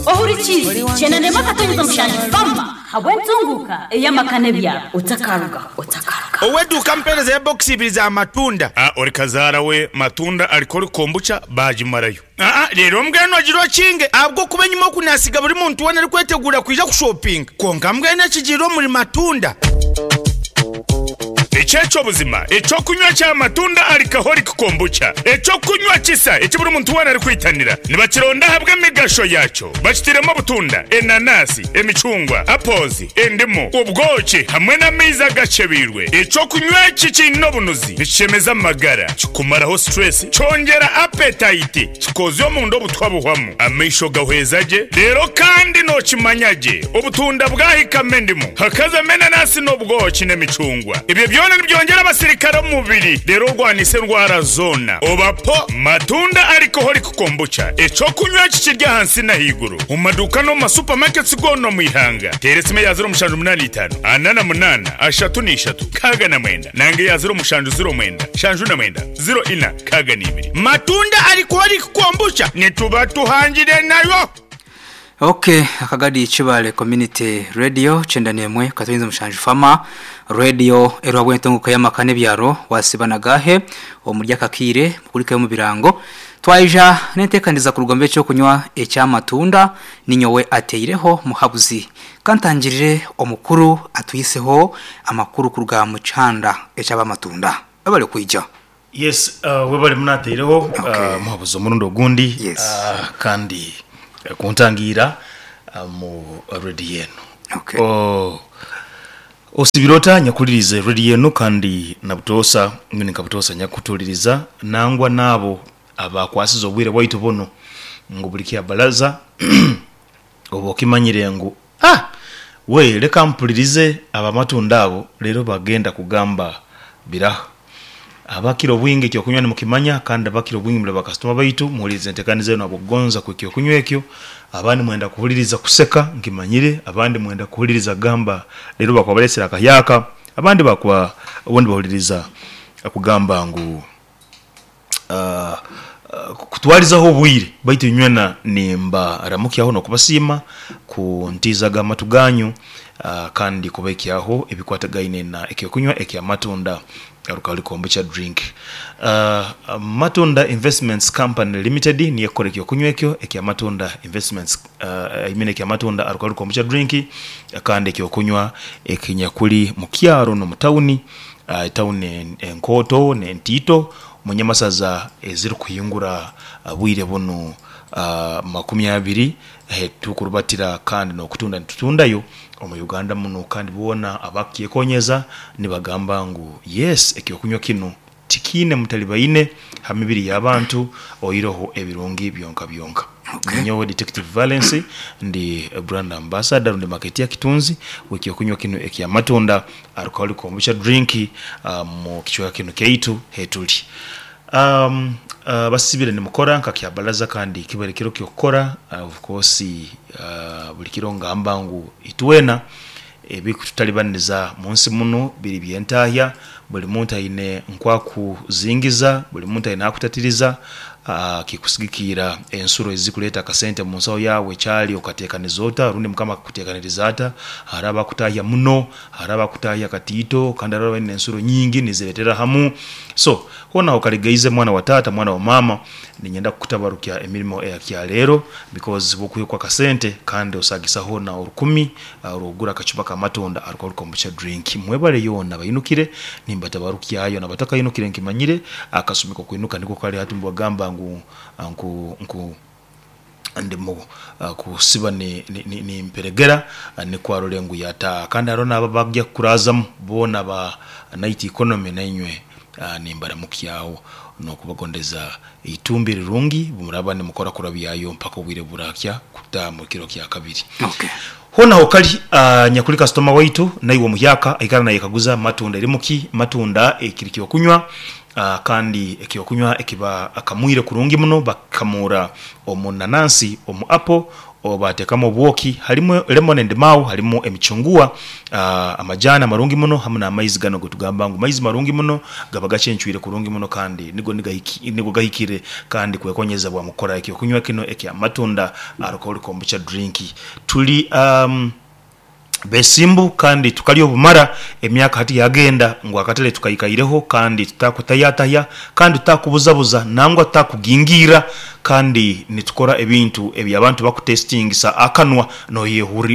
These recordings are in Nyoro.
Ohurikiize kyenda n'emwe akatonyeza mushanju Fama habw'entunguuka ey'amaka n'ebyaro. Otakarugaho, otakarugaho. Ow'eduuka ampeereza ebokisi ibiri za matunda. A Ori kazaara we matunda arikora kombucha baagimarayo. Aa Reero mbwenu ogire okinge ahabw'okuba enyima oku naasiga buri muntu weena arikweteguura kwija kushopinga. Kwonka mbwenu ekigiire omuri matunda. Eki eky'obuzima, eky'okunywa kya matunda alcoholic kombucha, eky'okunywa kisa eki buri muntu weena arikwitanira. Nibakironda ahabw'emigasho yaakyo. Bakitairemu obutunda, enanasi, emicungwa, apples, endimu, obwoki hamwe n'amaizi agakyebeirwe. Eky'okunywa eki kiine obunuzi, nikishemeza amagara, kikumaraho stress, kyongyera appetite, kikoozya omunda obutwa buhwamu, amaisho gahweza gye, reero kandi nookimanya gye obutunda bwahikamu endimu, hakazamu enanasi n'obwoki n'emicungwa. Ebyo byona nibyongyera abasirikare omu mubiri reero orwanise endwara zoona. Oba po matunda alcoholic kombucha, eky'okunywa eki kiri ahansi n'ahaiguru omu maduuka n'omu ma supermarkets goona omu ihanga. Teera esimu eya 0785 48 33 69 nanga eya 0709 79 04 62. Matunda alcoholic kombucha nituba tuhangire nayo. Ok Akagadi Kibale Community Radio kyenda n'emwe katonyeza mushanju Fama Radio eriho ahabw'entunguka y'amaka n'ebyaro wasiba na gaahe omuri aka kaire mukurikeyo omu birango Twaija n'enteekaniza kuruga omu by'ekyokunywa eky'amatunda ninyowe ateireho muhabuzi Kantangirire omukuru atwiseho amakuru kuruga mu kyanda eky'abamatunda Webale kwija. Yes, webale muno ateireho Okay. muhabuzi omurundi ogundi Yes. kandi kuntangiira mu radio eno. Okay. Oh, osibire ota nyakuhuliriza radio eno kandi na butoosa mbwenu nka butoosa nyakutuhuliriza nangwa n'abo abakwasize obwire bwaitu bunu ngu buli kyabalaza oba okimanyire ngu ah we leka mpulirize abamatunda abo leero bagenda kugamba biraha. Abakira obwingi eky'okunywa nimukimanya kandi abakira obwingi muli bakasitoma baitu, muhuliriza entekaniza enu habw'okugonza kw'eky'okunywa ekyo. Abandi mwenda kuhuliriza kuseka nkimanyire, abandi mwenda kuhuliriza kugamba leero bakuba balesere akahyaka, abandi bakuba obundi bahuliriza kugamba ngu kutwalizaho obwire. Baitu inywena nimbaramukyaho n'okubasiima kuntiizaga amatu ganyu kandi kubaikyaho ebikwatagaine na eky'okunywa eky'amatunda Alcoholic Kombucha Drink. Matunda Investments Company Limited niyo ekukora eky'okunywa ekyo ekya Matunda Investments I mean ekya Matunda Alcoholic Kombucha Drink kandi eky'okunywa ekinyakuli mu kyaro n'omu tawuni, etawuni enkooto n'entiito omu nyamasaza ezirikuhingura bwire bunu makumi abiri Tukurubatira kandi n'okutunda nitutundayo omu Uganda muno kandi boona abakukyekonyeza nibagamba ngu yes ekyokunywa kinu tikiine mutalibaine ha mibiri y'abantu oiroho ebirungi byonka byonka. Ninyowe Detective Valens ndi brand ambassador rundi marketeer kitunzi w'ekyokunywa kinu ekyamatunda alcoholic kombucha drink mu kicweka kinu kyaitu hetuli. Basibire nimukora nka kyabalaza kandi kibaire kiro ky'okukora of course buli kiro ngamba ngu itwena ebikututalibaniriza munsi munu biri by'entahya, buli muntu aine nkwakuzingiza, buli muntu aine akutatiriza kikusigikiira ensuro ezikuleeta akasente munsaho yaawe ekyali okatekaniza ota rundi mukama akakutekaniriza ata, hariho abakutahya muno, hariho abakutahya katiito kandi hariho abaine ensuro nyingi niziretera hamu so Hoona okaligaize mwana wa taata mwana wa maama ninyenda kukutabarukya emirimo eya kyaleero because bwokuhikwa akasente kandi osagisaho na orukumi orwokugura akacupa ka matunda alcohol kombucha drink. Mwebale yoona abainukire nimbatabarukyayo nabatakainukire nkimanyire akasumi kokwinuka niko kali hati nibagamba ngu nku nku ndimu kusiba nimperegera nikwo arole ngu yataaha. Kandi haroho n'abo abagya kukuraazamu boona aba Night Economy nainywe nimbaramukyaho n'okubagondeza eitumbi erirungi bumuraaba nimukora kurabyayo mpaka obwire burakya kutaaha mu kiro kya kabiri. Hoona hokali nyakuli kasitoma waitu naiwe omuhyaka aikara nayekaguza matunda erimu ki? Matunda ekiri ky'okunywa. Kandi ekyokunywa ekibakamwire kurungi muno bakikamura omu nanansi, omu apo, bateekamu obwoki, harimu lemon and mau, harimu emicunguwa, amajaani amarungi muno hamu n'amaizi ganu agetugamba ngu maizi marungi muno gaba gacencwire kurungi muno kandi nigo nigo gahikire kandi kwekonyezebwa mu kukora ekyokunywa kinu ekya Matunda Alcoholic Kombucha Drink. Tuli Besimbu kandi tukalya obumara emyaka hati yagenda ngu akatale tukaikaireho kandi tutakutayatahya kandi tutakubuzabuza nangwa tutakugingirra kandi nitukora ebintu eby'abantu bakutesitingisa akanwa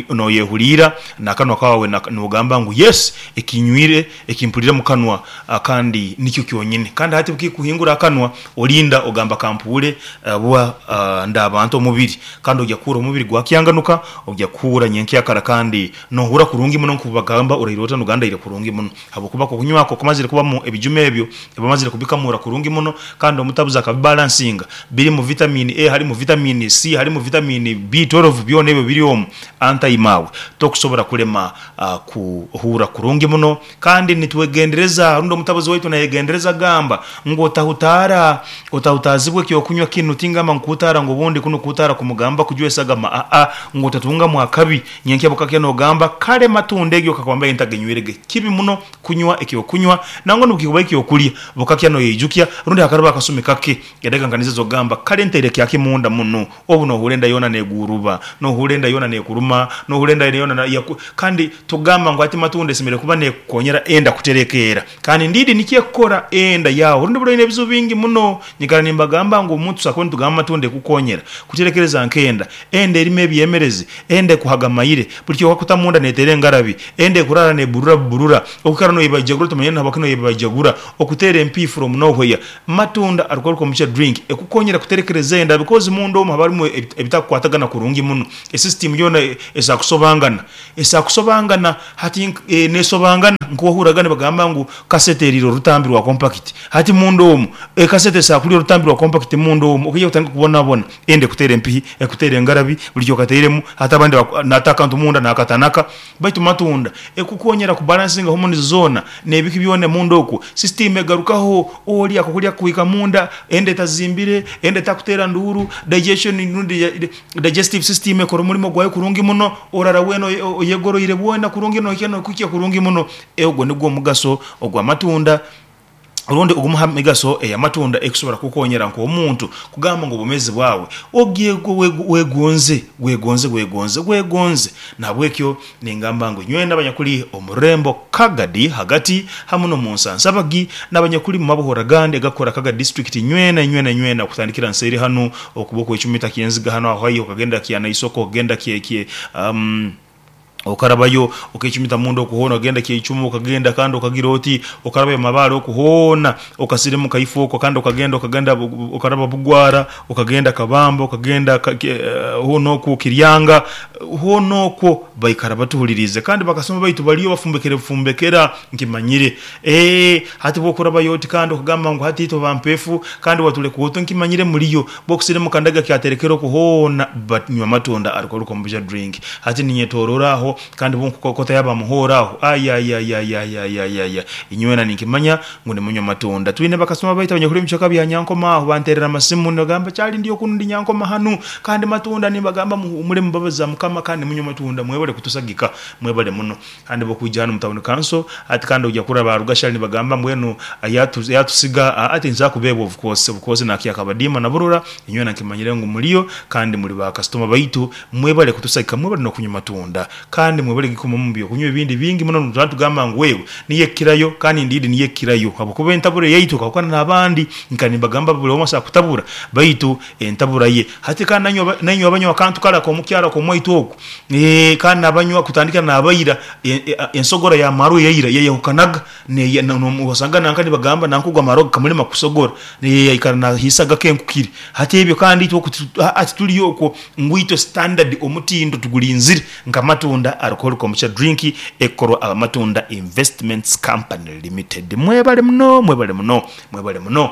noyehuliira n'akanwa kawe nogamba ngu yes ekinywire ekimpulire mukanwa kandi nikyo kyonyini kandi hati bukikuhingura akanwa olinda ogamba kampuure bwa ndaaba nta omubiri Kandi oija kuhurra omubiri gwakyanganuka, oija kuhurra nyenkyakara kandi nohurra kurungi muno nk'oku bagamba oraire ota nogandaire kurungi muno. Habwokuba okunywa kwo kumazire kubamu ebijuma ebyo bamazire kubikamura kurungi muno kandi omutabuzi akabibalansinga. Birimu vitamini A, harimu vitamini C, harimu vitamini B12 byona ebyo biri omu antaimaawe tokusobora kulema kuhurra kurungi muno. Kandi nitwegendereza, rundi omutabuzi waitu nayegendereza agamba ngu otahutaara, otahutaazibwa eky'okunywa kinu, tingamba ngu kuhutaara ngu obundi kunu kuhutaara kumugamba kujwa esagama, aa, ngu otatungamu akabi. Nyenkya bukakya nogamba, kale matunda egyo kakuba mbaire ntagenywirege. Kibi muno kunywa eky'okunywa, nangwa n'obukikuba eky'okulya, bukakya noyeijukya, rundi hakaraba akasumi kake, edakiika nka nizo ez'okugamba, kale ntaire kyaki munda munu. Obu nohurra enda yoona neguuruba, nohurra enda yoona nekuruma, nohurra enda yoona yaku. Kandi tugamba ngu hati matunda esemeriire kuba nekukonyera enda kuterekeera. Kandi ndiidi nikyo ekukora enda yaawe. Orundi buli oine ebizibu bingi muno. Nyikara nimbagamba ngu omuntu tusobora kuba nitugamba matunda ekukonyera kuterekereza nk'enda. Enda erimu ebyemerezi, enda ekuhaga maire, buli kyokakuta munda neteera engarabi, enda ekurara neburura buburura, okwikara noyebaijagura tomanyire nahabwaki noyebaijagura, okuteera empiihi from nowhere. Matunda alcohol kombucha drink ekukonyera kuterekereza enda because munda omu haba harimu ebitakukwatagana kurungi muno. Esystem yoona esobola kusobangana, esobola kusobangana hati nesobangana nkohurraga nibagamba ngu kasete eriire orutambi rwa compact. Hati munda omu ekasete esobola kurya orutambi rwa compact munda omu okaija kutandika kubonabona. Enda ekuteera empihi, ekuteera engarabi, buli kyokatairemu hati abandi nata akantu munda nakatanaka. Baitu matunda ekukonyera ku balancinga hormones zoona nebiki byona munda okwo, system egarukaho, olya akokulya kakuhika munda, enda etazimbire, enda etakutera nduuru, digestion rundi digestive system ekora omurimo gwayo kurungi muno, orara weena oyegoroire bwona kurungi nohikya nokuhikya kurungi muno. Ogwo nigwo omugaso ogw'amatunda. Orundi ogumu ha migaso ey'amatunda ekusobora kukukonyera nk'omuntu kugamba ngu obwomeezi bwawe wegonze, wegonze, wegonze, wegonze. Nahabwekyo ningamba ngu inywena abanyakuli omu rurembo Kagadi hagati hamu n'omu Nsansabagi n'abanyakuli mu mabohora agandi agakukora Kagadi disiturikiti inywena, inywena, inywena kutandikira nseeri hanu okuba okwecumita Kyenziga hanu aho haihi okagenda Kyanaisoko okagenda kye Okarabayo okecumita munda oku hoona okagenda Kyeicumu okagenda kandi okagira oti okarabayo Mabaale oku hoona okasirimuka ifo okwo kandi okagenda okagenda okaraba Bugwara okagenda Kabamba okagenda hoona okwo Kiryanga hoona okwo baikara batuhuliriize kandi bakasoma baitu baliyo bafumbekere bufumbekera nkimanyire. Eeh hati bwokurabayo oti kandi okagamba ngu hati itwe bampefu kandi watuleka oti nkimanyire muliyo Bwokusirimuka ndaga kyaterekera okwo hoona banywa amatunda alcohol kombucha drink hati ninyetorora aho kandi bwonkukokota yaba muhooro aho ayayayayayayayaya inywena ninkimanya ngu nimunywa amatunda. Twine bakasitoma baitu abanyakuli omubicweka bya Nyankoma aho banterera amasimu nibagamba Charlie ndi okunu ndi Nyankoma hanu kandi matunda nimbagamba muhumure mumbabazi za mukama kandi munywe amatunda mwebale kutusagika mwebale muno. Kandi bwokwija hanu mu town council hati kandi oija kurora ba Rugashari nibagamba mbwenu yatusiga aa tinsobola kubeebwa of course, of course nakya Kabadiima na Burora inywena nkimanyire ngu muliyo kandi muli ba kasitoma baitu mwebale kutusagika mwebale nokunywa matunda kandi mwebale kugikumamu mubyokunywa ebindi bingi muno nituba nitugamba ngu wewe niyo ekukirayo kandi ndiidi niyo ekukirayo habwokuba entabura eyaitu ekahukana nabandi nkaba nimbagamba buli omu asobola kutabura baitu entabura ye hati kandi nainywe abanywa akantu kare akomukyaro akomwaitu oku Eeh kandi nabanywa kutandikira nabaira ensogora ya marwa eyaira yayahukanaga wasanga nanka nibagamba nanka ogu amarwa gakamulema kusogora yaikara nahiisa gakenkukire. Hati ebyo kandi itwe oku hati turi okwo ngu itwe standard omutindo tugurinzire nka Matunda Alcohol Kombucha Drink ekukorwa aba Matunda Investments Company Limited. Mwebale muno mwebale muno mwebale muno.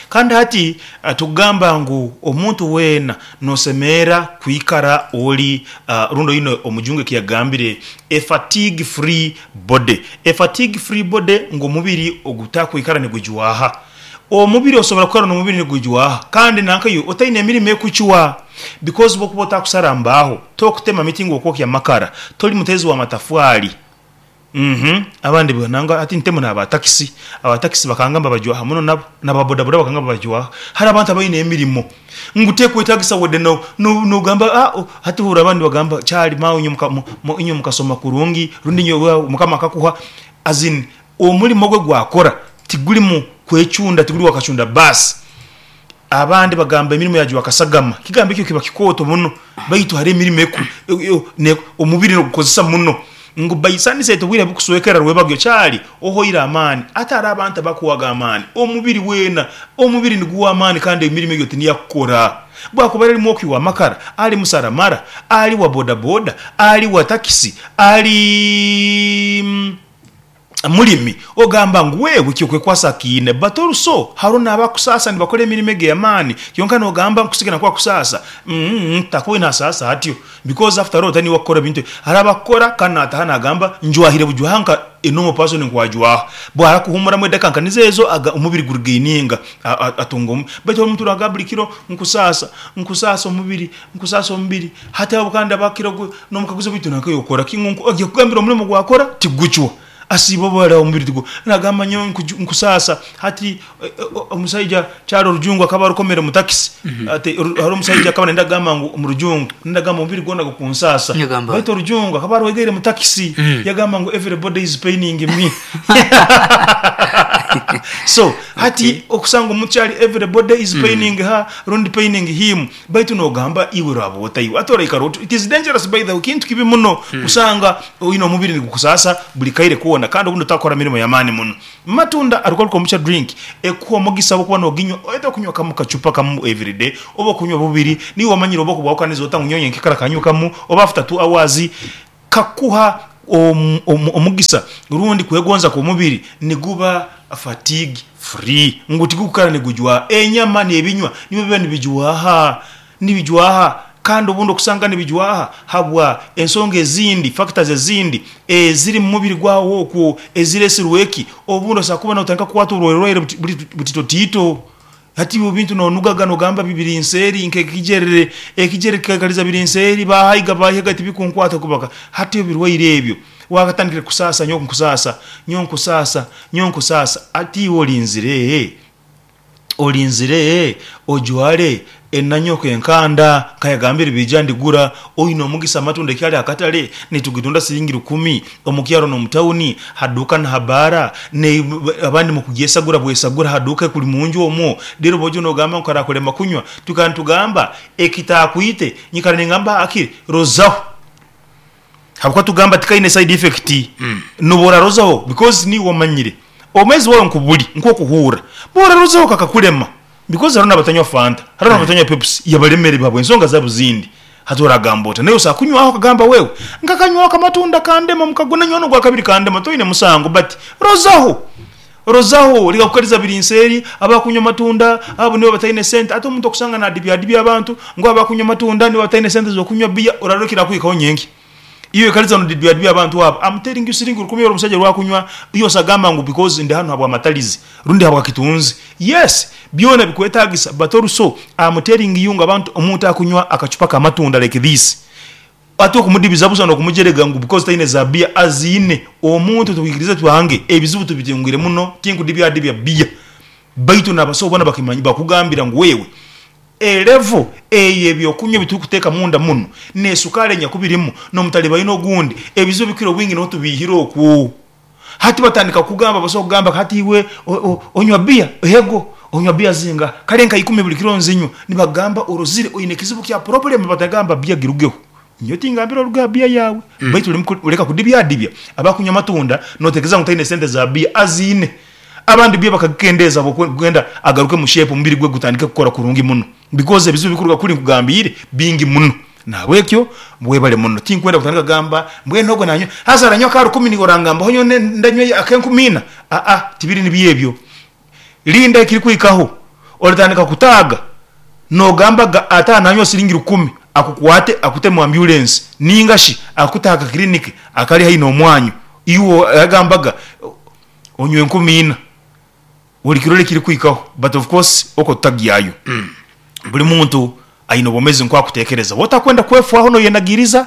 Kandi hati tukugamba ngu omuntu weena nosemerra kwikara oli rundi oine omujungu ekiyagambire a fatigue free body. A fatigue free body ngu omubiri ogutakwikara nigujwaha. Omubiri osobora kwikara n'omubiri nigujwaha kandi nanka iwe otaine emirimo ekucwa because obwokuba otakusara mbaho, tokutema miti ngu okwokya amakara, toli muteezi wa matafwali. Uhmm abandi nangwa hati ntemu naba takisi, aba takisi bakangamba bajwaha muno nabo, naba bodaboda bakangamba bajwaha. Hariho abantu abaine emirimo ngu tekwetagisa wadde nogamba aah hati ohurra abandi nibagamba kyali maawe inywe mukasoma kurungi rundi inywe mukama akakuha as in omurimo gwe gwakora tigurimu kwecunda tiguri wakacunda baasi. Abandi bagamba emirimo yajwa akasagama, ekigambo ekyo kiba kikooto muno baitu hariho emirimo omubiri nogukozesa muno ngu by sunset obwire bukuswekera rwebagyo kyali ohoire amaani. Ate hariho abantu abakuwaga amaani, omubiri weena omubiri niguwa amaani kandi emirimo egyo tiniyo akukora. Bwakuba ali mwoki wa makara, ali musaramara, ali wa bodaboda, ali wa takisi, ali mulimi, ogamba ngu wewe kyokwekwasa akiine but also haroho nabakusaasa nibakora emirimo egi eyamaani kyonka nogamba nkusigana kuba akusaasa takubaire nasaasa atyo because after all taniwe akukora ebintu ebi, hariho abakukora kandi nataha nagamba njwahire bujwaha nka a normal person nkwajwaha, bwahara kuhumuramu edakika nka nizo ezo omubiri gu regaininga atunga baitu omuntu nagamba buri kiro nkusaasa, nkusaasa omubiri, nkusaasa omubiri hati abo kandi abakira nomukaguza baitu nanka iwe okora ki ngu agiye kukugambira omurimo gwakora tigucwa asiiba obwara omubiri tigu nagamba nyowe nkusaasa hati omusaija kyali orujungu akaba arukomere mu takisi ati hariho omusaija akaba nayenda kugamba ngu murujungu nayenda kugamba omubiri gwona gukunsaasa Yagamba baitu orujungu akaba arwegeire mu takisi yagamba ngu everybody is paining me so hati okusanga omuntu kyali everybody is paining her rundi paining him Baitu nogamba iwe oraba ota iwe ati oraikara oti it is dangerous by the way kintu kibi muno kusanga oine omubiri nigukusaasa buri kaire koona kandi obundi otakora mirimo yamaani muno. Matunda alcoholic kombucha drink ekuha omugisa obwokuba noginywa either okunywa kamu kacupa kamu everyday oba okunywa bubiri niiwe omanyire oba okubwahukaniza ota ngu nyowe nyenkekara kanywe kamu oba after 2 hours Kakuha omugisa rundi kwegonza kw'omubiri niguba fatigue free, ngu tigukukara nigujwaha. Enyama n'ebinywa nibyo biba nibijwaha, nibijwaha kandi obundi okusanga nibijwaha habwa ensonga ezindi, factors ezindi eziri mu mubiri gwawe okwo eziresirwe eki? Obundi osobola kuba notandika kukwatwa oburwairwaire butitotiito. Hati iwe ebintu nonugaga nogamba biri nseeri nk'ekigyerere, ekigyere kikaikaliza biri nseeri, bahaiga bahiga tibikunkwata kubaka. Hati ebirwaire ebyo wakatandikire kusaasa nyowe nkusaasa, nyowe nkusaasa, nyowe nkusaasa. Hati iwe olinzire, olinzire ojware enanyoko enkanda nkayagambire biija ndigura, oine omugisa amatunda ekyali akatale nitugitunda siringi rukumi. Omu kyaro n'omu tauni, ha duuka na ha bbaara, abandi mukugyesagura bwesagura ha duuka ekuli munju omwo, reero bwoija nogamba ngu karakulema kunywa, twikara nitugamba ekitaakwite, nyikara ningamba hakiri rozaho habwokuba tugamba tikaine side effect, nobu orarozaho because niiwe omanyire obwomeezi bwawe nkubuli, nk'okuhuurra, obu orarozaho kakakulema because haroho n'abatanywa fanta, haroho n'abatanywa pepsi yabalemere habw'ensonga zaabo zindi. Hati oragamba ota? Naiwe osobola kunywaho okagamba wewe nkakanywaho akamatunda kandema mukago nanywa nogwakabiri kandema toine musango but rozaho rozaho leka kukaliza biri nseeri abakunywa amatunda abo nibo bataine sente ate omuntu okusanga nadibyadibya abantu ngu abakunywa amatunda nibo bataine sente zokunywa beer orarora ekirakuhikaho nyenkya. Iwe kaliza nodibyadibya abantu abo am telling you siringi rukumi oru omusaija orwakunywa iwe osagamba ngu because ndi hanu habwamatalizi rundi habwa kitunzi yes byona bikwetagisa but also am telling you ngu abantu omuntu akunywa akacupa kamatunda like this ate okumudibiza busa nokumujerega ngu because taine za beer aziine omuntu tukwikiriza twange ebizibu tubitungire muno tinkudibyadibya beer baitu nabasawo bona bakimanyi bakugambira ngu wewe E level ey'ebyokunywa ebiturikuteeka munda muno n'esukaali enyakubirimu n'omutalibaine ogundi, ebizibu ebikukira obwingi niho tubiihire okwo. Hati batandika kukugamba, basobola kugamba hati iwe onywa bbiya? Ego. Onywa bbiya zingaha? Kare nka ikumi buri kiro nzinywa. Nibakugamba orozire oine ekizibu kya problem batagamba bbiya girugeho. Nyowe tingambire oruge aha bbiya yaawe baitu leka kudibyadibya abakunywa amatunda notekereza ngu taine sente za bbiya, aziine. Abandi bbiya bakagikendeeza habw'okwenda agaruke mu shape omubiri gwe gutandike kukora kurungi muno because ebizibu ebikuruga kuri nkugambiire bingi muno. Nahabwekyo webale muno. Tinkwenda kutandika kugamba mbwenu ogwo nanywa haza aranywa aka rukumi niiwe orangambaho nyowe ndanywa ak'enkumi ina? Aa tibiri nibyo ebyo. Linda ekirikuhikaho oratandika kutaaga nogambaga ata nanywa siringi rukumi akukwate akute mu ambulance ningashi akute aha ka clinic akari haihi n'omwanyu iwe agambaga onywe 4000 olikirora ekirikuhikaho but of course okwo tutagyayo. Buri muntu aine obwomezi nko akutekereza wotakwenda kwefwaho noyenagiriza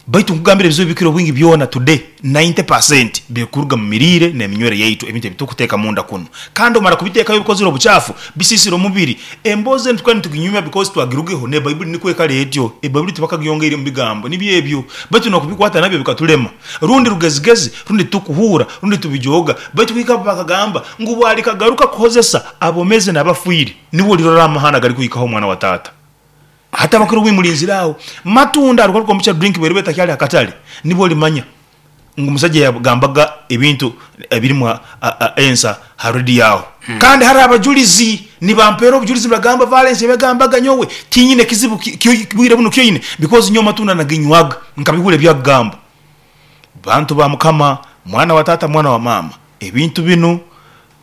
baitu nkugambire ebizibu ebikira obwingi byona today 90% birikuruga mu miriire n'eminywere yaitu ebintu ebitukuteeka munda kunu kandi omara kubiteekayo obikozire obucaafu bisiisire omubiri. Emboozi enu tukaba nituginyumya because twagirugeho n'ebaibuli nikwo ekara etyo. Ebaibuli tibakagyongeire mu bigambo nibyo ebyo baitu n'okubikwata nabyo bikatulema rundi rugezigezi rundi titukuhuura rundi tubijooga baitu kuhika bakagamba ngu bwalikagaruka kuhozesa abomeezi n'abafiire nibwo olirora amahano agarikuhikaho omwana wa taata. Hati abakuru bwimulinzire aho matunda arugaruka omu drink bweriba etakyali akatale nibwo olimanya ngu omusajja yagambaga ebintu ebirimu ensa ha rediyo aho. Kandi hariho abajulizi nibampeera obujulizi nibagamba Valence ebiyagambaga nyowe tinyine kizibu bwire bunu kyoine because nyowe amatunda naginywaga nkabihurra ebyakugamba. Bantu ba Mukama, mwana wa taata mwana wa maama, ebintu binu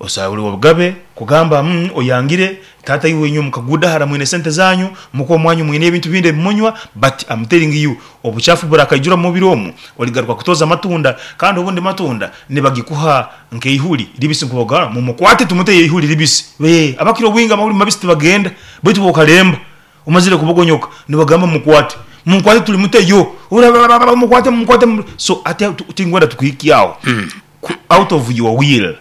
osabura obugabe kugamba oyangire taata iwe inywe mukagudahara mwine sente zanyu muka omwanyu mwine ebintu bindi ebimunywa but I'm telling you obuchafu burakaijura omu mubiri omu oligaruka kutoza amatunda kandi obundi matunda nibagikuha nkeihuri ribisi nkubagamba mumukwate tumuteyo eihuri ribisi. Abakira obwingi amahuri mabisi tibagenda baitu bokalemba omazire kubogonyoka nibagamba mukwate mukwate tulimuteyo mukwate mukwate so ati tingwenda tukuhikyaho out of your will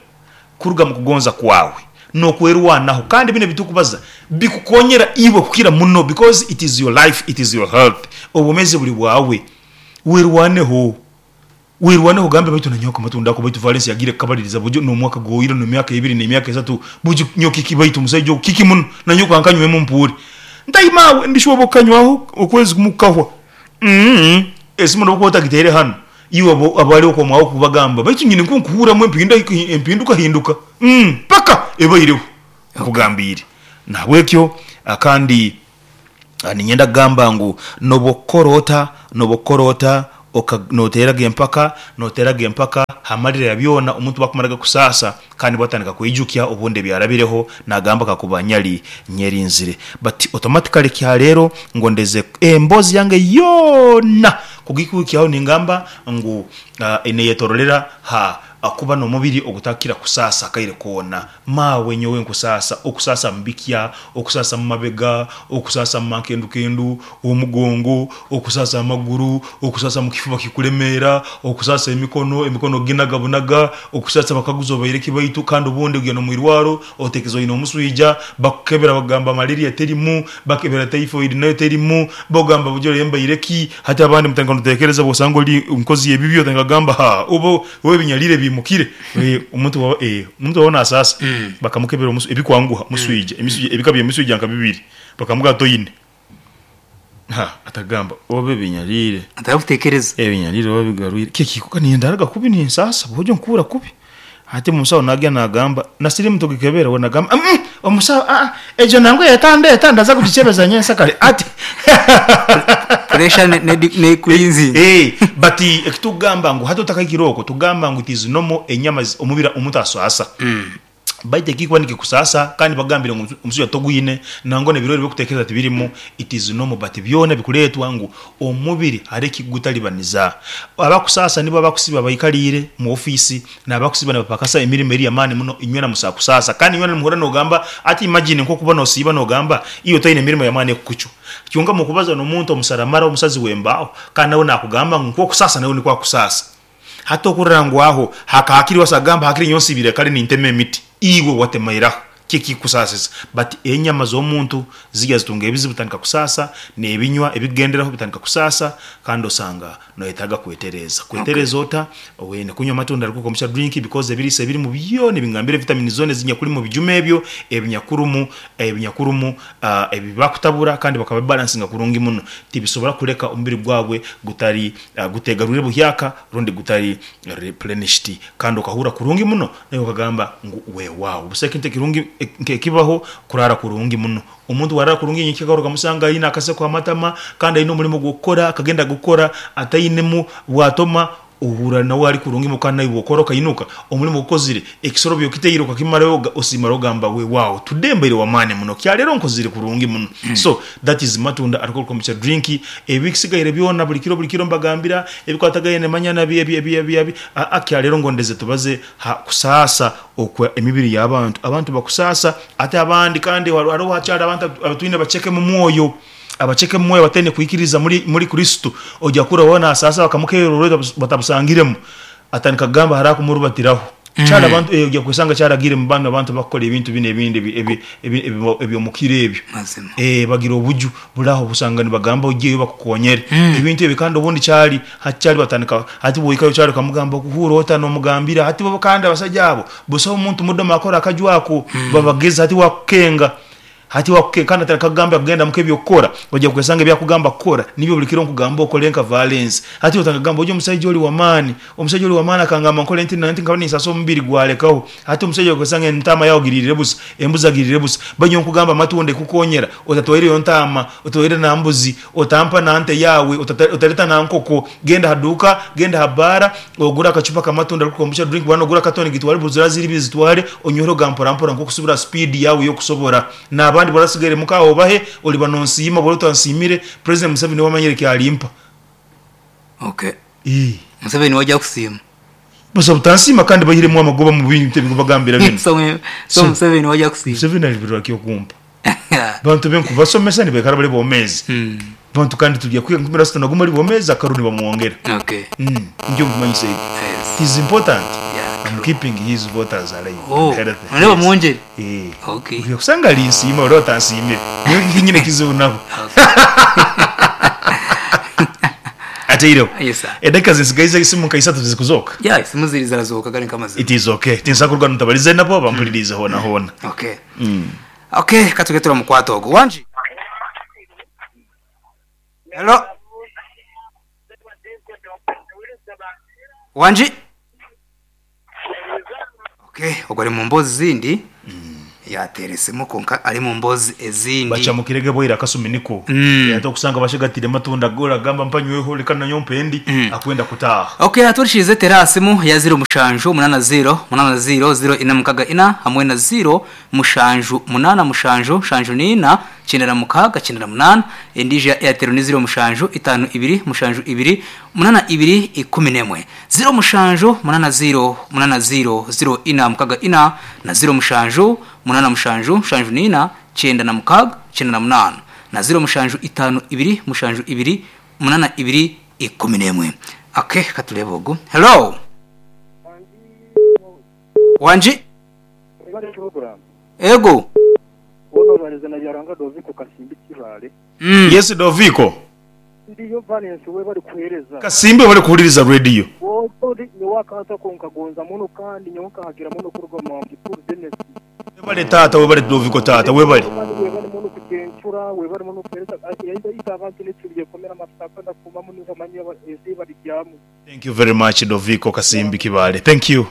kuruga mu kugonza kwawe n'okwerwanaho kandi bino ebitukubaza bikukonyera iwe kukira muno because it is your life, it is your health. Obwomezi buri bwawe werwaneho werwaneho ogambe baitu nanyoka amatunda ako baitu Valence yagiire kukabaliriza bujo n'omwaka gwoire n'emyaka ebiri n'emyaka esatu bujo nyowe kiki baitu omusaija ogu kiki muno nanyoka nkanywemu mpuure ntaimawe ndishuba okukanywaho okwezi kumu kukahwa esimu nobu okuba otagiteire hanu iwe abari okomwaho kubagamba baitu nyine nkunkuhuramu empinduka hinduka paka ebaireho nkugambiire. Nahabwekyo kandi niinyenda kugamba ngu nobu okukora ota nobu okukora ota noteeraga empaka noteeraga empaka hamalira ya byona omuntu obu akumaraga kusaasa kandi nibwo atandika kweijukya obundi ebyarabireho nagamba kakuba nyali nyerinzire but automatically kyaleero ngondeze emboozi yange yoona kugikuhikyaho ningamba ngu neyetororera ha kuba n'omubiri ogutakira kusaasa akaire koona. Maawe nyowe nkusaasa, okusaasa mu bikya, okusaasa mu mabega, okusaasa mu mankendukendu, omugongo, okusaasa amaguru, okusaasa mu kifuba kikulemeera, okusaasa emikono, emikono ginaga bunaga, okusaasa bakaguza obaire ki baitu kandi obundi ogenda omu irwaro otekereza oine omuswija, bakukebera bakugamba malaria terimu, bakebera typhoid nayo terimu, bogamba bujo rero mbaire ki? Hati abandi mutandika notekereza bwosanga ori nkozi y'ebibi otandika kugamba haa oba oba ebinyarire biimukire. Omuntu bwaba omuntu bwaba nasaasa bakamukebera ebikwanguha muswija, emiswija ebika by'emiswija nka bibiri bakamugamba toine. Ha atagamba oba ebinyarire. Atakutekereza. Ebinyarire oba bigarwire kiki nindaraga kubi ninsaasa bwojo nkuhurra kubi. Hati omusawo nagya nagamba na sirimu tugikebera we nagamba omusawo egyo nangwa etandeeta ndaza kugikyebeza nyensakare ati. Pressure nekulinzinga. But ekitukugamba ngu hati otakahikire okwo tugamba ngu it is normal enyama omubiri omuntu asaasa baitu ekikuba nikikusaasa kandi bakugambire ngu omusujja togwine nangwa nebirwaire ebyokutekereza tibirimu it is normal but byona bikureetwa ngu omubiri hariho ekikugutaribaniza. Abakusaasa nibo abakusiba baikariire mu ofiisi n'abakusiba nibapakasa emirimo eri y'amaani muno inywena musobola kusaasa kandi inywena nimuhurra nogamba ati imagine nk'okuba nosiiba nogamba iwe toine mirimo y'amaani ekukucwa kyonka mukubaza n'omuntu omusaramara omusazi w'embaaho kandi nawe nakugamba ngu nk'okusaasa nawe nikwo akusaasa. Hati okurora ngu aho hakahakiri wasa agamba hakiri nyowe nsiibire kare nintema emiti iwe watemairaho ki ekikusaasisa but enyama z'omuntu zigya zitunga ebizibu zitandika kusaasa n'ebinywa ebikugenderaho bitandika kusaasa kandi osanga noyetaaga kwetereeza. Kwetereeza ota? Oine kunywa amatunda ago komukya drink because ebiriisa ebirimu byona ebingambire vitamini zoona ezinyakuri mu bijuma ebyo ebinyakurumu ebinyakurumu ebi bakutabura kandi bakabibalansinga kurungi muno tibisobora kuleka omubiri gwawe gutari gutegarwire buhyaka rundi gutari replenished kandi okahurra kurungi muno naiwe okagamba ngu weewaawo busaho ekintu ekirungi nkekibaho kurara kurungi muno. Omuntu bwarara kurungi nyenkya okamusanga aine akaseko ha matama kandi aine omurimo gw'okukora akagenda gukora atainemu bwatoma. Ohurra nawe ali kurungi muno kandi naiwe okora okainuka omulimo ogukozire ekisorobyo okitaire okakimarayo osiimara ogamba weewaawo today mbaire w'amaani muno kyaleero nkozire kurungi muno. So that is matunda alcohol kombucha drink. Ebisigaire byona buli kiro buli kiro mbagambira ebikwatagaine manya na bi ebi ebi ebi aa kyaleero ngondeze tubaze ha kusaasa okwa emibiri y'abantu. Abantu bakusaasa ate abandi kandi haroho hakyali abantu abatwine baceke mu mwoyo. Abaceke mu mwoyo abataine kwikiriza muri Kristo, oja kurora weena asaasa bakamukeerera orwaire batabusangiremu, atandika kugamba haraho akumurubatiraho. Kyali abantu oja kwesanga kyaragiire mu banu abantu abakukora ebintu binu ebindi eby'omu kiro ebyo. Bagira obuju buli aho obusanga nibagamba ojeyo bakukonyere. Ebintu ebyo kandi obundi kyali hati kyali batandika hati bw'ohikayo kyali okamugamba okuhuura ota n'omugambira hati bo kandi abasaija abo busaho muntu mudoma akora akaju ako babageza hati wakukenga. Hati wakuke kandi atandika kugamba kugenda muka eby'okukora, oja kwesanga ebi akugamba kukora nibyo buli kiro nkugamba okole nka Valens. Hati otandika kugamba oju omusaija oli w'amaani, omusaija oli w'amaani akangamba nkole nti na nti nkaba ninsasa omubiri gwalekaho. Hati omusaija oja kwesanga entaama yawe ogiriire busa, embuzi agiriire busa. Baitu nyowe nkugamba amatunda ekukonyera, otatwaireyo ntaama, otwaire na mbuzi, otampa na nte yawe, otaleta na nkoko, genda ha duuka, genda ha bbaara, Ogure akacupa k'amatunda arikuruga omu drink bwana ogure akatoni gitware buri ziraba ziri ibiri zitware onyweho ga mpora mpora nk'okusubira ha speed yaawe ey'okusobora. N'abandi bw'orasigaire muka aho obahe oliba nonsiima bw'oriba otansiimire President Museveni niwe amanyire eki alimpa. Okay. Ii. Museveni niwe aja kusiima. Busa butansiima kandi baihiremu amagoba mu bintu ebi nkubagambira binu. So, so Museveni niwe aja kusiima. Museveni alibirwa ki okumpa? Bantu be nkubasomesa nibaikara bari bomeezi. Bantu kandi turi kwiga nkumi asatu na gumwe ari bomeezi akaru nibamwongera. Okay. Nikyo nkumanyisa ekyo. Yes. It is important. Yeah, I'm true. keeping his voters alive Oh, and healthy. none bamwongyere? Yes. Okay. Oija kusanga alinsiima ori otansiimire. Nyowe tinyine kizibu nabo. Ataireho. Yes, sir. Edakika zinsigaize esimu nka isatu tizikuzooka? Yeah, esimu ziri zirazoka gari nk'amazima. It is okay. Tinsobola kuruga ntabarize nabo bampuliriize hoona hoona. Okay. Okay, ka tuge turamukwata ogu. Wangi? Hello? Wangi? Okay, ogwo ari mu mboozi zindi. Yateera esimu kwonka ari mu mboozi ezindi. Bacamukirege bwaire akasumi niko. Ate okusanga bashegatire amatunda go oragamba mpa nyweho reka nanyowe mpe endi akwenda kutaaha. Okay, hati tera aha simu ya ziro mushanju munana ziro munana ziro ziro ina mukaga ina hamwe na ziro mushanju munana mushanju nshanju n'ina kyenda na mukaaga kyenda na munaana. Endiijo ya Airtel ni ziro mushanju itaano ibiri mushanju ibiri munana ibiri ikumi n'emwe. Ziro mushanju munana ziro munana ziro ziro ina mukaga ina na ziro mushanju munana mushanju nshanju n'ina kyenda na mukaaga kyenda na munaana na ziro mushanju itaano ibiri mushanju ibiri munana ibiri ikumi n'emwe. Okay, ka tureebe ogu. Hello! Wangi? Ego. Woona obarize na Byaruhanga Doviko Kasimbi Kibaale. Yes Doviko. Ndiyo Valens webale kuhereza. Kasimbi webale kuhuliriza radio. Wooli nyowe akantu ako nkagonza muno kandi nyowe nkahagira muno kuruga omu Mukuru Denis. Webale taata webale Doviko taata webale. Kandi webale muno kucencura webale muno kuhereza yaita abantu n'ekiruye komera amafuta ndakumamu niho manya ensi barigyamu. Thank you very much Doviko Kasimbi Kibaale. Thank you.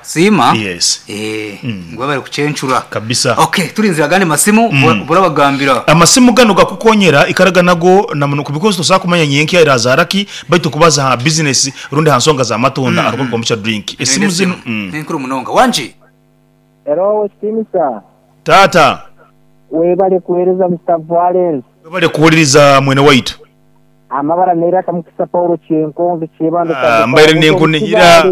Siima. Yes. Eh, ngu webale kucencura. Kabisa. Okay, turinzire agandi masimu burabagambira. Amasimu ganu gakukonyera ikaraga nago na muno because tosobola kumanya nyenkya erazaara ki baitu kubaza ha business rundi ha nsonga za matunda alcohol kombucha drink. Esimu zinu. Ni nkuru munonga. Wangi. Hello Westinsa. Taata. Webale kuhereza Mister Valens. Webale kuhuliriza mwene waitu. Amabara neiraka Mukisa Paulo Kyenkonge Kyebando Ah, mbaire ninkunihira.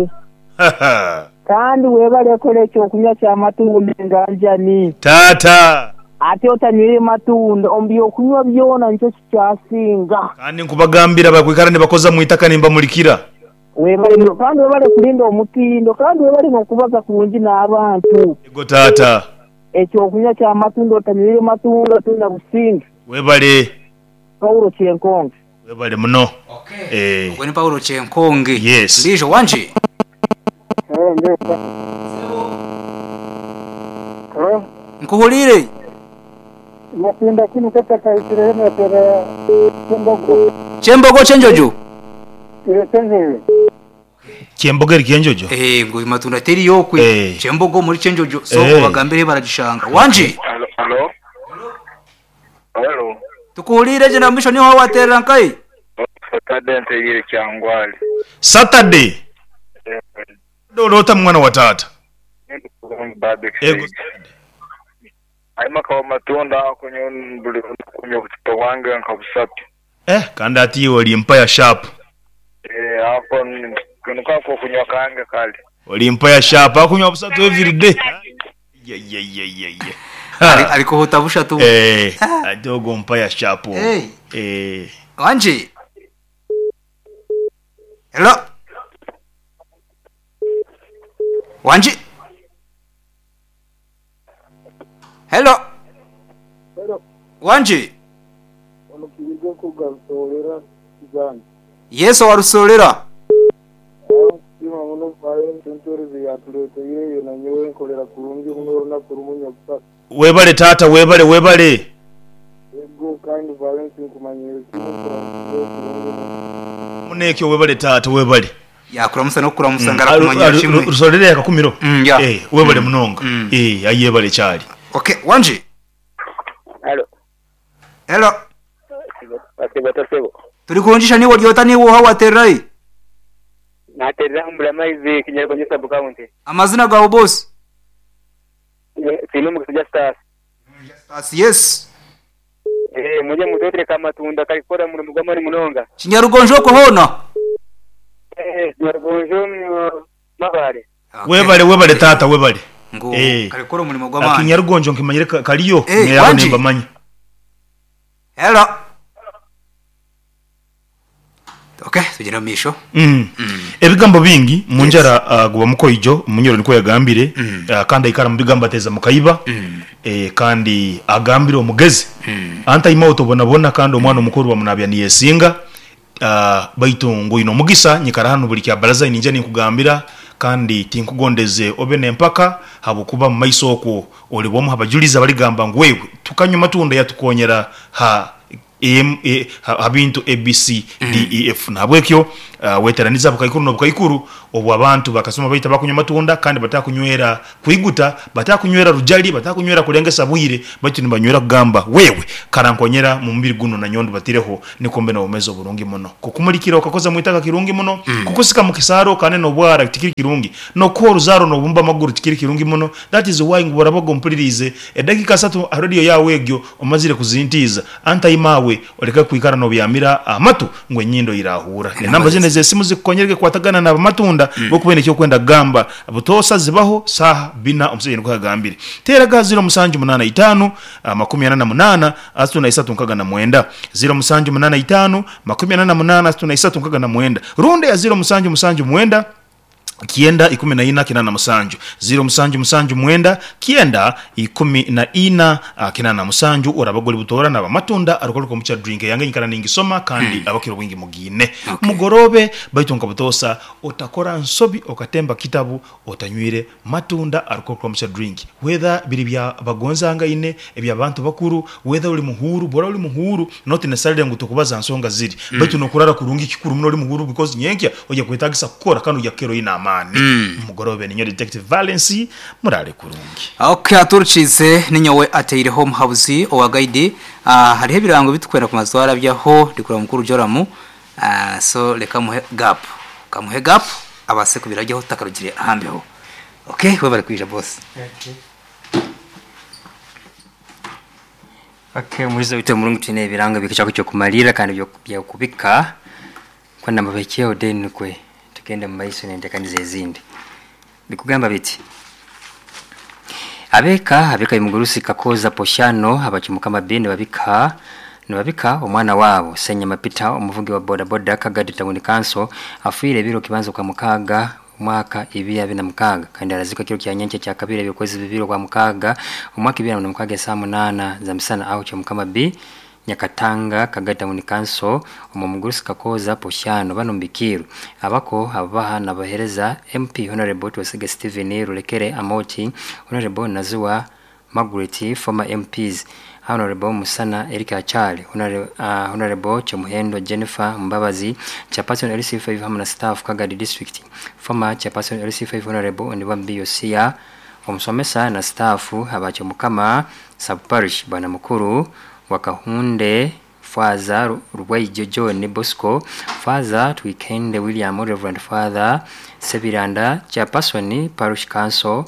Kandi webale kora ekyokunywa ky'amatunda enganjani. Taata. Ate otanywire matunda omu byokunywa byona nikyo kikyasinga. Kandi nkubagambira bakwikara nibakoza mu itaka nimbamulikira. Webale muno kandi webale kulinda omutindo kandi webale n'okubaza kurungi n'abantu. Ego taata. Ekyokunywa ky'amatunda otanywire matunda tolina businge. Webale. Paulo Kyenkonge. Webale muno. Okay. Eh. Ogwo ni Paulo Kyenkonge. Yes. Ndiijo wangi. Nkuhuriire. Matunda kinu kata kaisire hena tera kyembogo. Kyembogo kyenjojo. Ile kyenjojo. Kyembogo eri kyenjojo? Eh, ngu matunda teri yokwe. Eh. Kyembogo muri kyenjojo. So Eh. bagambire baragishanga. Wangi. Halo, halo. Halo. Tukuhuriire gye na misho niho waterera nkai. Fatadente yire kyangwali. Saturday. Oloota mwana wa taata. Ego Saturday. Eh kandi ati iwe oli mpaya sharp. Oli mpaya sharp akunywa busatu everyday. Ayayayayaya. Ali kuhuta bushatu. Eh, ati ogwo mpaya sharp ogwo. Hey. Eh. Wanji. Hello. Wanji. Hello. Hello. Wanji. Ono kibiga kugarusolera zange. Yesu warusolera. Nkusiima muno Valence entorezo yatuleeteire eyo nanyowe nkolera kurungi muno olunaku lumu nyakusatu. Webale taata webale webale. Ego kandi Valence nkumanyire kimu kuramusiza kurungi muno. Munekyo webale taata webale. Yakuramusa nokuramusa ngarakumanyira kimwe. Rusolera yakakumiro. Ya. Eh, webale munonga. Eh, ayebale kyali. Okay, Wanji. Hello. Hello. Asebo tasebo. Turi kurungisha niwo ryota niwo hawaterai. Naterera mbula maizi Kinyarugonjo sub county. Amazina gawe boss. Sino mukisija stars. Stars yes. Eh, muje mutotere kamatunda kalikora mu mugwamani munonga. Kinyarugonjo ko hona. Eh, Kinyarugonjo mabare. Okay. Webale webale taata webale. Ngo Eh. kalikora omulimo gw'amaani. Akinyarugonjo nkimanyire kaliyo Eh, neyabo Wanji. nembamanya. Hello. Okay, tugenda mu misho. Ebigambo bingi munjara guba mukoijo munyoro niko yagambire kandi aikara mu bigambo ateza mukaiba kandi agambire omugezi anta ima otobonabona kandi omwana omukuru bamunabya niyesinga baitu ngu ino omugisa nyikara hano buli kya baraza ninja ninkugambira kandi tinkugondeze obe nempaka habukuba mu maiso okwo oli bomu habajuliza baligamba ngu wewe tukanywa matunda yatukonyera ha M, E, ha bintu A, B, C, D, E, F. Nahabwekyo weteraniza bukaikuru n'obukaikuru obwo abantu bakasoma baita bakunywa matunda kandi batakunywera kwiguta, batakunywera rujali, batakunywera kulengesa bwire, baitu nibanywera kugamba wewe karankonyera mu mubiri guno na nyondo batireho nikombe na omezo burungi muno kukumulikira okakoza mwitaka kirungi muno kukusika mu kisaro kane n'obwara tikiri kirungi nokuwa oruzaro n'obumba amaguru tikiri kirungi muno. That is why ngu barabago mpulirize edakika 3 radio yawe egyo omazire kuzintiza antaimawe oleka kwikara n'obyamira amatu ngu enyindo irahura. Enamba zine z'esimu zikukonyereke kwatagana n'abamatunda bokubene ekyokwenda kugamba butosa zibaho saha bina omusajja niko yagambire teraga 0785 48 3369 0785 48 3369 runde ya 0779 kienda 14 87 0779 kienda 14 87 orabagoli butora na bamatunda arukoruko mucha drink yange nyikara ningisoma kandi abakiro bwingi mugine mugorobe baitu nkabutosa otakora nsobi okatemba kitabu otanywire matunda arukoruko mucha drink whether biri bya bagonzanga ine ebya abantu bakuru whether uli muhuru bora uli muhuru not necessarily ngu tukubaza nsonga ziri baitu nokurara kurungi kikuru muno uli muhuru because nyenkya oja kwetagisa kukora kandi oja kero ina amani. Mugorobe ninyo Detective Valence murale kurungi. Okay, aturukize ninyowe ateireho omuhabuzi owa guide. Hariho ebirango bitukwera ku mazwara byaho ndikura mukuru Joramu. So leka muhe gap. Kamuhe gap abase kubirajyaho takarugire ahambeho. Okay, we bari kwija boss. Okay, murizo bito murungu tine ebirango bikichako cyo kumalira kandi byo kubika kwenda mabekeo den kwe tugende mu maiso n'enteekaniza ezindi. Bikugamba biti abeka imugurusi kakoza poshano abachimukama bene babika nibabika omwana wabo Senya Mapita omuvugi wa boda boda Kagadi Town Council afiire biro kibanzo kwa mukaga mwaka 2026 kandi arazikwa kiro kya nyancha kya kabiri ebyokwezi bibiri kwa mukaga omwaka 2026 saa 8 za misana au cha mukama B Nyakatanga Kagadi Town Council omugurusi kakoza poshano bano mbikiru abako abaha nabahereza MP Honorable Twesige Steven Rulekere Amoti Honorable Nazua Margaret former MPs Honorable Musana Erika Achale Honorable Chomuhendo Jennifer Mbabazi Chairperson LC5 hamwe na staff Kagadi District former Chairperson LC5 Honorable Ondiwambi Yosia omusomesa na staff abachomukama sub parish bwana mukuru wakahunde Father Rubwaijo John Bosco, Father Twikende William, Reverend Father Sebiranda, Chairperson Parish Council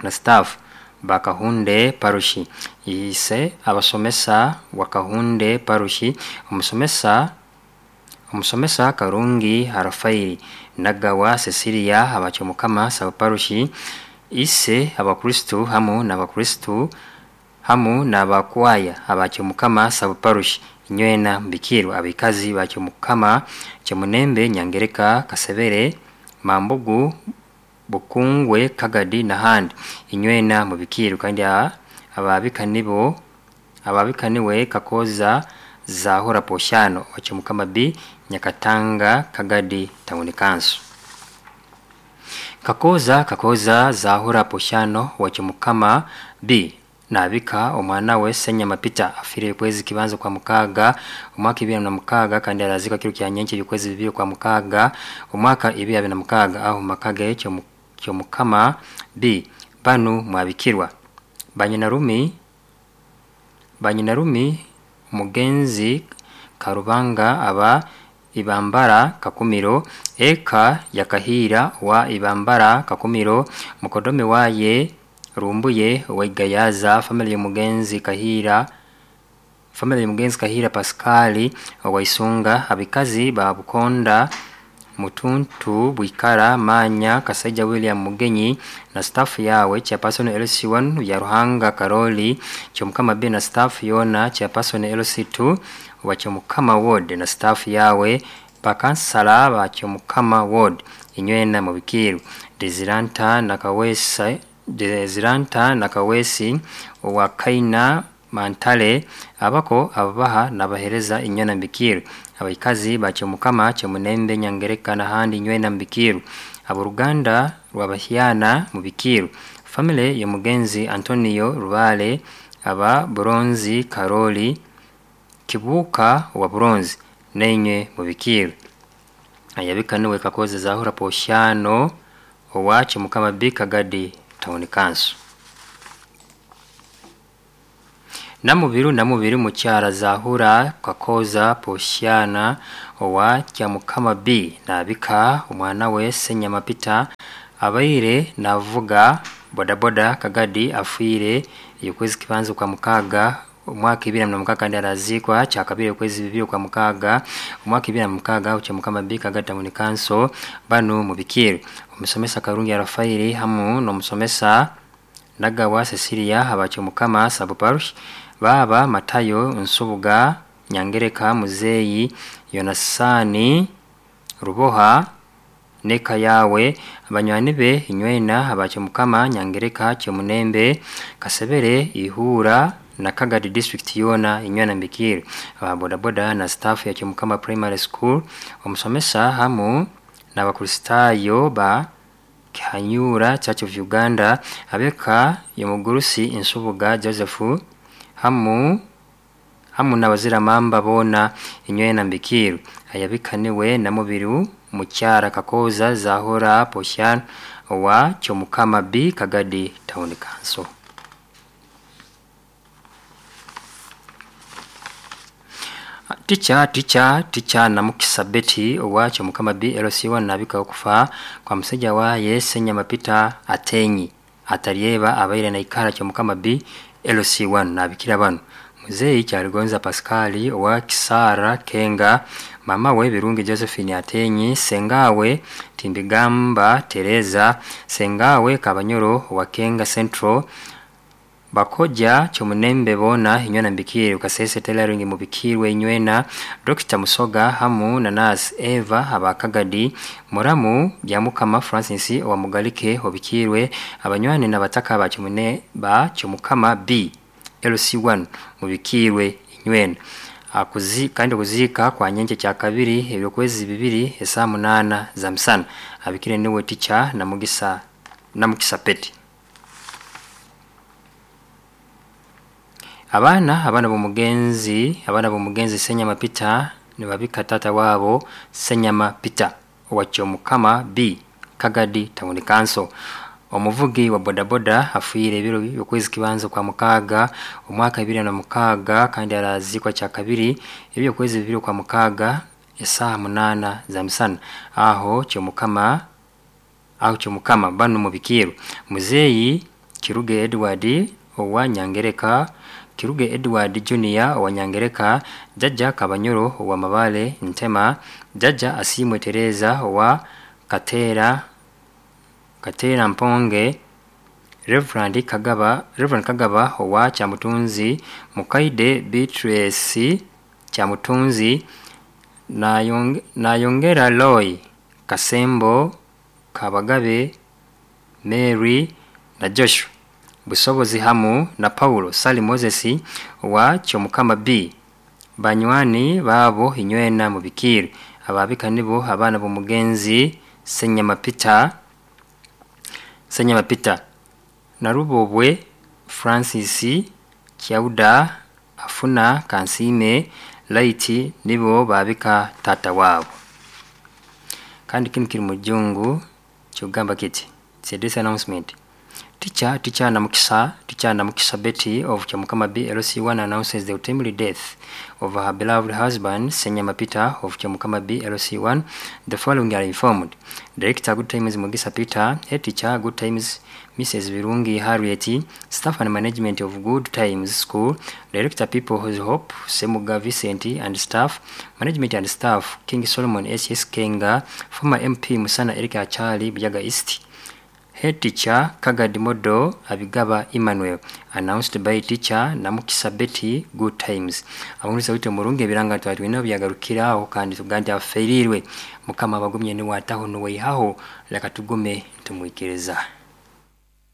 na staff Bakahunde Parish, ise abasomesa Wakahunde Parish, omusomesa Karungi Harafaili, Nagawa Cecilia Abachomukama Sub Parish, ise abakristu hamu n'abakristu hamu n'abakwaya Abachomukama Sub Parish, nywena mbikirwa abikazi Bachomukama Chemunembe, Nyangereka, Kasebere, Mambugu, Bukungwe, Kagadi n'ahandi, inywena mubikiru. Kandi ababika nibo ababika niwe Kakoza Zahora Poshano Wachomukama B, Nyakatanga, Kagadi Town Council. Kakoza Zahora Poshano Wachomukama B nabika omwana we Senyama Peter afire kwezi kibanzo kwa mukaga omwaka 2006 kandi arazika kiro kya nyenche y'ukwezi 2 kwa mukaga omwaka 2006 aho makage cyo mukama B. Banu mwabikirwa Banyinarumi Mugenzi Karubanga aba Ibambara Kakumiro, eka yakahira wa Ibambara Kakumiro, mukodome waye Rumbuye Waigayaza, family Mugenzi Kahira, family Mugenzi Kahira Pascali Waisunga, abikazi ba Bukonda, Mutuntu, Bwikara, Manya, Kasaija William Mugenyi na staff yawe, Chairperson LC1 ya Ruhanga Karoli Chomukama B na staff yona, Chairperson LC2 wa Chomukama Ward na staff yawe, bakansala ba Chomukama Ward, inywena mubikiru. Desiranta Nakawesa Desiranta Nakawesi wa Kaina Mantale, abako ababaha nabahereza inywena mbikiru. Abaikazi ba Chomukama, Chemunembe, Nyangereka n'ahandi, inywena mbikiru. Aboruganda rwabahyana mubikiru. Family ya Mugenzi Antonio Rubale aba Buronzi Karoli Kibuka wa Buronzi, nenywe mubikiru. Ayabika niwe Kakoza Zahura Poshano owa Chomukama B, Kagadi Town Council. Namubiru mukyara Zahura Kakoza Poshyana owa Kyamukama B nabika omwana we Senyama Peter abaire navuga bodaboda Kagadi afiire y'ukwezi kibanzo kwa mukaga omwaka 2006 kandi arazikwa kyakabiri okwezi 2 kwa mukaga omwaka 2006 Kyamukama B, Kagadi Town Council. Banu mubikiru. Omusomesa Karungi Rafaeli hamu n'omusomesa Nagawa Cecilia Abachomukama Sub Parish, Baba Matayo Nsubuga, Nyangereka, Muzeyi Yonasani Ruboha neka yawe, abanywani be inywena Abachomukama, Nyangereka, Chemunembe, Kasebere, Ihura na Kagadi District yona, inywena mbikiru. Aba bodaboda na staff ya Chomukama Primary School, omusomesa hamu n'abakristayo ba Kihanyura Church of Uganda, abeka yomugurusi Nsubuga Joseph hamu n'abaziramamba bona, inywena mbikiru. Ayabika niwe Namubiru mukyara Kakoza Zahora Poshan wa Chomukama B, Kagadi Town Council. Ticha Namukisa Betty owa Chomukama B LC1 nabika okufa kwa musajja waye Senyama Peter Atenyi ataryeba abaire na ikara Chomukama B LC1 nabikira bano Muzeyi Kyaligonza Pascali owa Kisara Kenga, mama we Birungi Josephine Atenyi, sengawe Timbigamba Tereza, sengawe Kabanyoro wa Kenga Central, Bakoja Chomunembe bona inywena mbikiri. Ukasese tailoring mubikirwe inywena. Dr. Musoga hamu na Nurse Eva abakagadi, Muramu Byamukama Francis wa Mugalike obikirwe, abanywani n'abataka ba Chomune ba Chomukama B LC1 mubikirwe inywena. Kandi kuzika kwa nyenche kya kabiri ebyokwezi 2 esaa 8 za msana. Abikire niwe ticha na Mugisa Peti. Abana b'omugenzi Senyama Peter nibabika tata wabo Senyama Peter owa Kyomukama B, Kagadi Town Council. Omuvugi wa bodaboda afiire ebiro by'okwezi kibanza kwa mukaaga omwaka 2006 kandi arazikwa kyakabiri ebyokwezi 2 kwa mukaaga esaha 8 za misana aho kyomukama banu mubikiru muzeyi Kiruge Edward owa Nyangereka, Kiruge Edward Junior owa Nyangereka, Jaja Kabanyoro owa Mabale Ntema, Jaja Asimwe Tereza owa Katera Mponge, Reverend Kagaba owa Kyamutunzi, Mukaide Beatrice Kyamutunzi, Nayongera Loy Kasembo Kabagabe Mary na Joshua Busobozi hamu na Paulo Sali Moses wa Kyomukama B. Banywani babo inywena mubikiri ababika nibo abana b'omugenzi Senyama Peter Narubobwe Francis Kyauda Afuna Kansime Laiti nibo babika tata wabo. Kandi kinu kiri mujungu kyogamba kiti. It's a this announcement. Teacher Namukisa Betty of Kyamukama B LC1 announces the untimely death of her beloved husband, Senyama Peter of Kyamukama B LC1. The following are informed. Director Good Times Mugisa Peter, Head Teacher Good Times Mrs. Virungi Harriet, Staff and Management of Good Times School, Director People Whose Hope, Semuga Vicente and Staff, Management and Staff, King Solomon S.S. Kenga, former MP Musana Erika Achali, Buyaga East, Head Teacher Kagadi Modo Abigaba Emmanuel, announced by Teacher Namukisa Betty Good Times. Abunguliza wite murungi ebiranga twatwina byagarukiraho kandi tugandi afeirirwe mukama abagumye ni wataho nuweihaho leka tugume tumwikiriza.